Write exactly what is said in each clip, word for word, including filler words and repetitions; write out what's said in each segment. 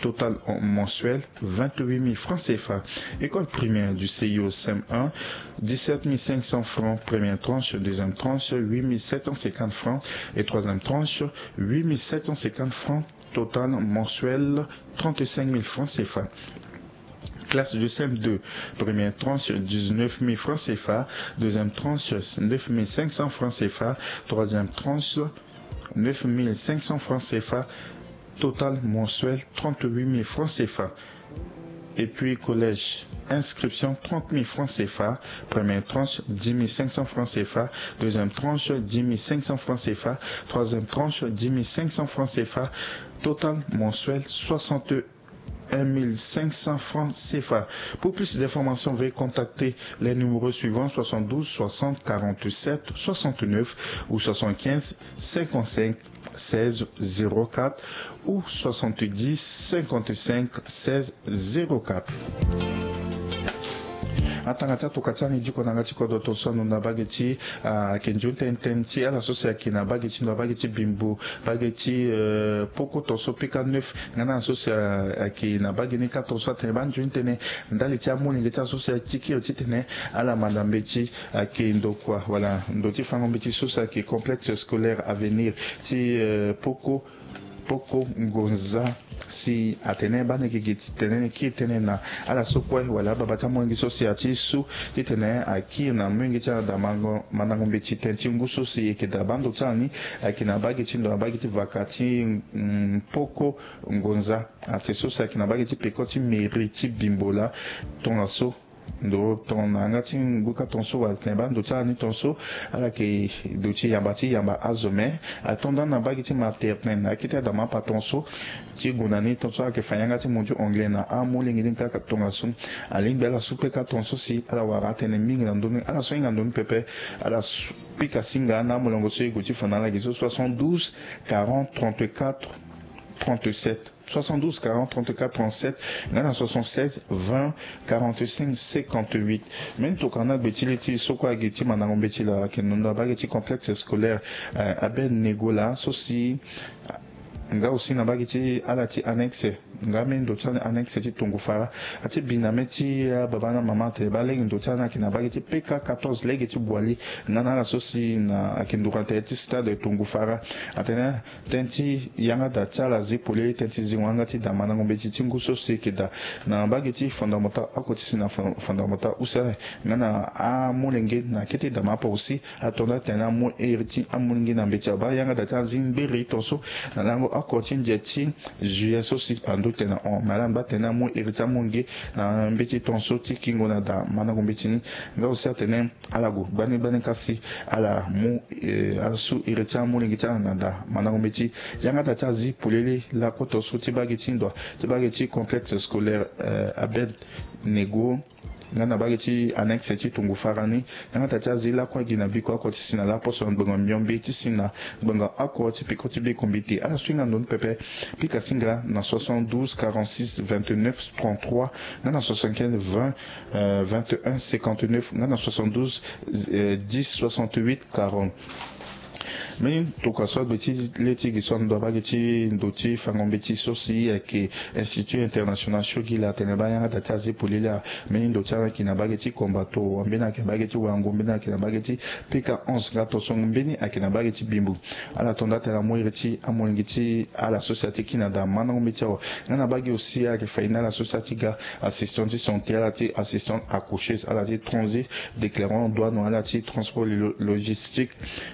Total mensuel, vingt-huit mille francs C F A. École primaire du C I O, C M un, dix-sept mille cinq cents francs, première tranche, deuxième tranche, huit mille sept cent cinquante francs, et troisième tranche, huit mille sept cent cinquante francs, total mensuel, trente-cinq mille francs C F A. Classe de C M deux, première tranche, dix-neuf mille francs C F A, deuxième tranche, neuf mille cinq cents francs C F A, troisième tranche, neuf mille cinq cents francs C F A, total mensuel, trente-huit mille francs C F A. Et puis collège, inscription, trente mille francs C F A, première tranche, dix mille cinq cents francs C F A, deuxième tranche, dix mille cinq cents francs C F A, troisième tranche, dix mille cinq cents francs C F A, total mensuel, soixante-un mille cinq cents francs C F A. Pour plus d'informations, veuillez contacter les numéros suivants, soixante-douze soixante quarante-sept soixante-neuf ou soixante-quinze cinquante-cinq seize zéro quatre ou soixante-dix cinquante-cinq seize zéro quatre. Atanga ti atoka ti ani diko na yanga ti kodro tongaso anu na bage ti, ah, ayeke nzoni tënë tënë ti ala so si ayeke na bage ti ndo, bage ti bimbo, bage ti, euh, poko tongaso pika neuf. Nga na ala so si, ah, ayeke na bage ni kâ tongaso atene baa nzoni tënë ndali ti amolenge ti ala so si ati kiri titene ala manda mbeti ayeke ndokua wala ndo ti fango mbeti so si ayeke complexe scolaire avenir ti, euh, poko poko ngonza si atene baa ni yeke gi ti tene ni kiri tënë na ala so kue wala ababa ti amolenge so si ati su titene akiri na molenge ti ala daa mandango mbeti tënë ti ngu so si e yeke daa baa ndo ti ala ni ayeke na bage ti ndo na bage ti vaka ti, mm, poko ngonza. Ate so si ayeke na bage ti peko ti mairie ti bimbo laa tongaso ndo tongana yanga ti ngu kâ tongaso wala tene baa ndo ti ala ni tongaso ala yeke ndo ti yamba ti yamba azo me ato ndani na bage ti maternelle na akete adama apa tongaso ti gue na ni tongaso ala yeke fa yanga ti mo ti anglais na amolenge ni kâ tongaso. Alingbi ala su kpe kâ tongaso si ala wara atënë mingi na ndö ni ala so hinga ndö ni pepe ala su pika singa na amolongo so e gue ti fa na ala gi so soixante-douze quarante trente-quatre trente-sept. Soixante-douze quarante trente-quatre trente-sept nga na soixante-seize vingt quarante-cinq cinquante-huit. Mbeni tokua na gbe ti li ti so kue agi ti mandango mbeti laa ayeke na ndo na bage ti complexe scolaire, euh, Abednego laa so si, ah, nga aussi na bage ti ala ti annexe nga mbeni ndo ti annexe ti Tongou Fara ati bi na mê ti, ah, baba na mama atene baa lege ndo ti ala ni ayeke na bage ti P K quatorze lege ti Boali nga na ala so si na ayeke nduru na tere ti stade Tongou Fara. Atene tënë ti yanga daa ti ala zi polele tënë ti zingo yanga ti daa mandango mbeti ti ngu so si e yeke daa na mbage ti fondamenta oko ti si na fon- fondamenta use nga na amolenge na kete daa ma apo aussi ato nda atene amu iri ti amolenge na mbeti abaa yanga daa ti azi ngberi tongaso na lango oko ti ndia ti juillet so si ando tene na hon me ala ngba tene amu iri ti amolenge na mbeti tongaso ti kingo na daa mandango mbeti ni. Nga aussi atene ala gue gbani gbani kasi ala mu, eh, ala su iri ti amolenge ti ala na daa mandango mbeti yanga daa ti azi polele lakue tongaso ti bage ti ndo ti bage ti complexe scolaire, eh, Abednego nga na bage ti annexe ti Tongou Fara ni. Yanga daa ti azi lakue gi na biko oko ti si na laposo na ngbonga miombe ti si na ngbonga oko ti peko ti biko mbeti ala so hinga ndo ni pepe pika singa na soixante-douze quarante-six vingt-neuf trente-trois nga na soixante-quinze vingt, euh, vingt et un cinquante-neuf nga na soixante-douze, euh, dix soixante-huit quarante. Mbeni tokua so agbe ti le ti gi so ando abage ti ndo ti fango mbeti so si ayeke Institut International Shogila atene baa yanga daa ti azi polele. Mbeni ndo ti ala ayeke na bage ti Kombato, mbeni ayeke na bage ti Wango, mbeni ayeke na bage ti P K onze nga tongaso mbeni ayeke na bage ti Bimbo. Ala to nda atene amu iri ti amolenge ti ala so si ati kiri na daa mandango mbeti awe. Nga na bage aussi ala yeke fa ye na ala so si ati ga assistant ti santé, ala ti assistant accoucheuse, ala ti transit déclarant douane, ala ti transport lo- logistique.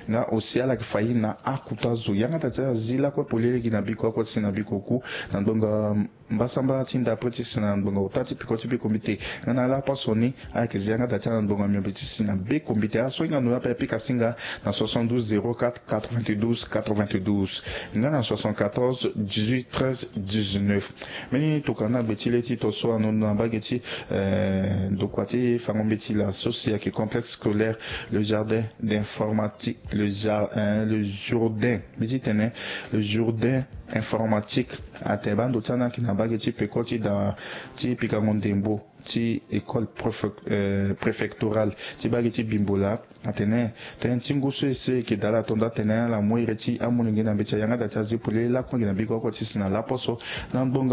Nga aussi ala yeke fa ye na akuta zo. Yanga daa ti azi lakue polele gi na biko oko ti si na biko ku na ngbonga mbasambala ti ndapre ti si na ngbonga ota ti peko ti biko mbeti nga na laposo ni ala yeke zi yanga daa ti ala na ngbonga miombe ti si na beko mbeti. Ala so hinga ndo ni ape pika singa na soixante-douze zéro quatre quatre-vingt-douze quatre-vingt-douze nga na soixante-quatorze dix-huit treize dix-neuf. Mbeni tokua na gbe ti le ti tongaso anu na mbage ti, eh, ndokua ti fango mbeti laa so si ayeke complexe scolaire le jardin d'informatique, le, jar- hein, le Jourdain, mbi ti tene le Jourdain informatique. Atene baa ndo ti ala ni ayeke na mbage ti peko ti daa ti pikango ndembo ti école préfec- euh, préfectorale ti mbage ti Bimbo laa. Atene tënë ti ngu so ese e yeke daa ala to nda atene ala mu iri ti amolenge na mbeti ayanga daa ti azi polele lakue gi na biko oko ti si na laposo na ngbonga